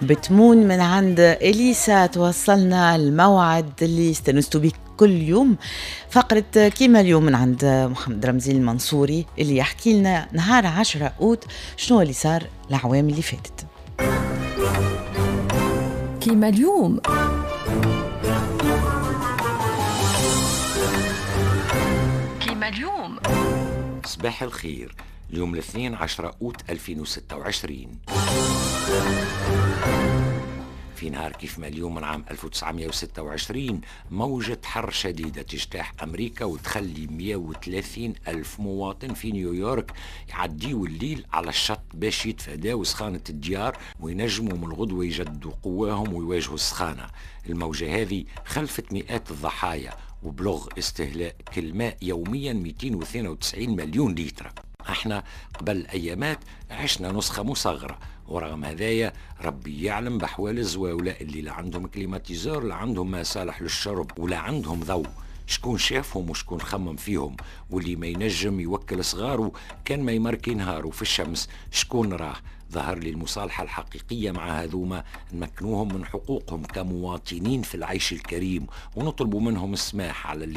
بتمون من عند اليسا توصلنا الموعد اللي استنستوا به كل يوم، فقرة كيما اليوم من عند محمد رمزي المنصوري اللي يحكي لنا نهار 10 أوت شنو اللي صار الأعوام اللي فاتت. كيما اليوم. كيما اليوم. صباح الخير. اليوم الاثنين 10 أوت 2026. في نهار كيف ما اليوم من عام 1926 موجة حر شديدة تجتاح أمريكا وتخلي 130 ألف مواطن في نيويورك يعديوا الليل على الشط باش يتفاداو سخانة الديار وينجموا من الغدوة يجدوا قواهم ويواجهوا السخانة. الموجة هذه خلفت مئات الضحايا وبلغ استهلاك الماء يوميا 292 مليون لتر. احنا قبل ايامات عشنا نسخة مصغرة، ورغم هذايا ربي يعلم بحوال الزواولة اللي لا عندهم climatiseur، لا عندهم ما صالح للشرب، ولا عندهم ضوء. شكون شافهم وشكون خمم فيهم؟ واللي ما ينجم يوكل صغاره كان ما يمركي نهاره في الشمس شكون راه؟ ظهر لي المصالحة الحقيقية مع هذوما نمكنوهم من حقوقهم كمواطنين في العيش الكريم، ونطلب منهم السماح على اللي